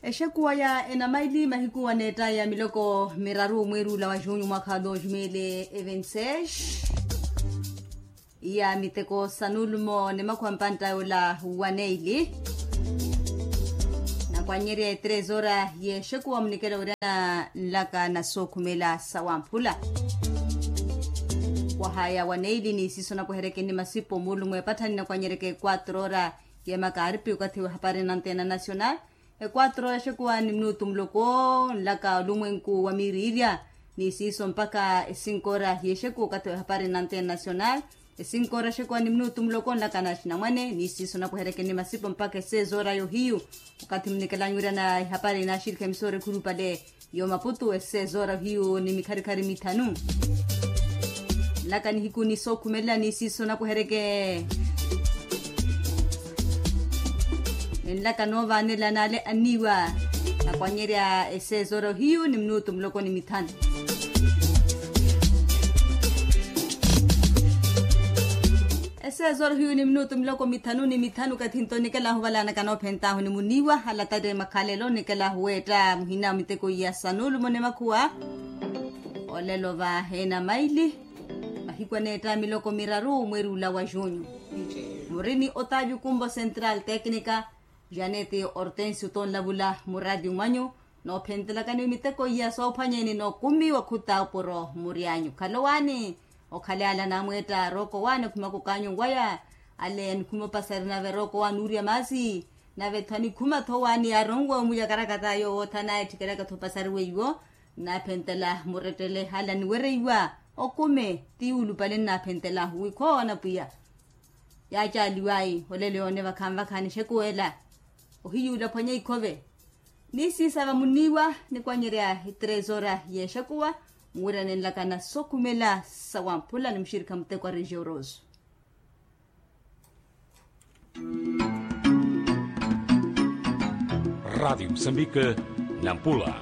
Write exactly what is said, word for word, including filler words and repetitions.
Exekuwa ya enamaili mahiku waneetta ya miloko miraru mweeri ula wa junyu mwakha wa dos mil e vinte seis. Iya miteko sa nulumo ni makhuwa mpantta yola waneili. Nakwanyerya e tres hora y'exekuwa munikela wira na nlaka na sookhumela sa wamphula. Wahaya waneili ni siiso nakuherekeni masipo muulumo epatthani nakwanyereke quatro hora y'emakaaripi okathi w'ehapari na antena nacional. E quatro hora exekuwa ni minutu muloko nlaka olumwenku wa miiriirya. Ni siiso mpakha e cinco hora y'exekuwa okathi w'ehapari na antena nacional. E cinco hora exekuwa ni minutu muloko nlaka na axinamwane ni siiso nakuherekeni masipo mpakha e seis hora y'ohiyu. Okathi munikelanyu wira na ehapari na axirikha emisora ekhulupale y'omaputu e seis hora ohiyu ni mikharikhari mithanu. Nlaka nihiku ni sookhumelela ni siiso nakuhereke. Ninlaka noovaanela n'ale anniiwa. Nakwanyerya e seis hora ohiyu ni minutu muloko ni mithanu. E seis hora ohiyu ni minutu miloko mithanu ni mithanu okathi nto nikelahu valanaka noophent'ahu ni muniiwa alatate makhalelo nikelahu weetta muhina miteko iya sa nulumo ni makhuwa. Olelo va enamaili mahiku aneetta miloko miraru mweeri ula wa junyu. Muri ni otavio kumbo central tecnica, janete hortensio tonlavula muraati mwanyu. Noophentelakani miteko iya soophwanyeni n'okumi wakhuta opuro muryanyu khalowaani. Okhaly'ala naamweetta rooko waani okhumakuk'anyu waya. Ale anikhuma opasari nave rooko waani uurya maasi. Nave-tho anikhuma-tho waani yaaronwe omuyakarakata yoowo othana ettikelaka-tho opasari weiwo. Naaphentela murettele ala niwereiwa okumi ti yuulupale nnaaphentela wi khoowoona pwiya. Yaacaaliwayi olelo yoone vakhanvakha nixekuwela. Ohiyuula phwanya ikhove. Ni siisava muniiwa nikwanyerya e tres hora y'exekuwa. Muwira ninlaka na sokhumela sa wamphula ni muxirikha muteko a regioroso. Radiyo musambike nampula.